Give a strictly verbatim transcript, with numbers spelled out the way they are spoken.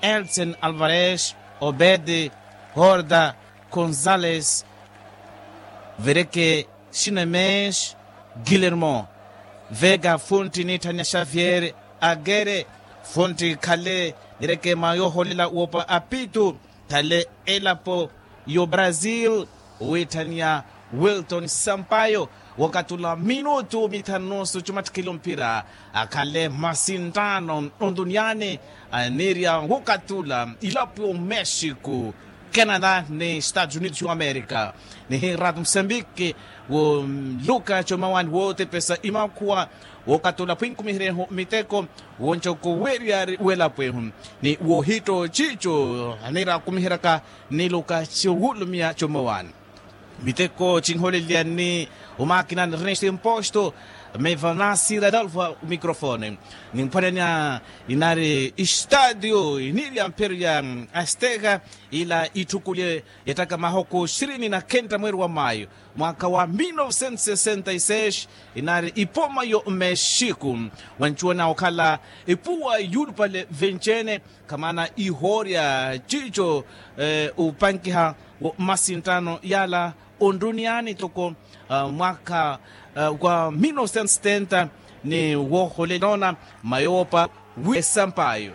Elsen Alvarez, Obed, Horda, Gonzales, vereke, Sinemes, Guillermo, Vega, funti nitthaniya Xavier, Agere, funti khale, nireke mwa yoholela wopa apitu, khale elapo yo Brazil, witthaniya Wilton Sampaio, wokatula minutu mithanu nusu cumattikhile omphira, akhale masinttano onduniyani, anirya wokatula ilapo yo Mexico, Canada ni Estados Unidos yo Amerika. Nihinratu Mosambiki, wo Luka Comawani wotepesa imakhuwa, wokatula phwinkumiherehu miteko, wonco kuweriyari welapo ehu, ni wohitto cico, anira kumiheraka ni Luka Ciwulumia Comawani. Miteko cinholeliya ni omakinani Ernest Imposto, mevanasi radolfo microfone. Nimphwananiya inari estadio iniri ya mphero ya Azteca, ila itthukuli, yattaka mahoko ishirini na khentta mweeri wa mayo, mwaka wa mil novecentos sessenta y seis, inari ipoma yo Mexico, wancuwana okhala ipuwa yulupale vencene, khamana ihoorya cico, upankiha wo masinttano yala onduniyani toko mwaka wa mil novecentos setenta, ni woholela ona mayo wopa wi esampayo.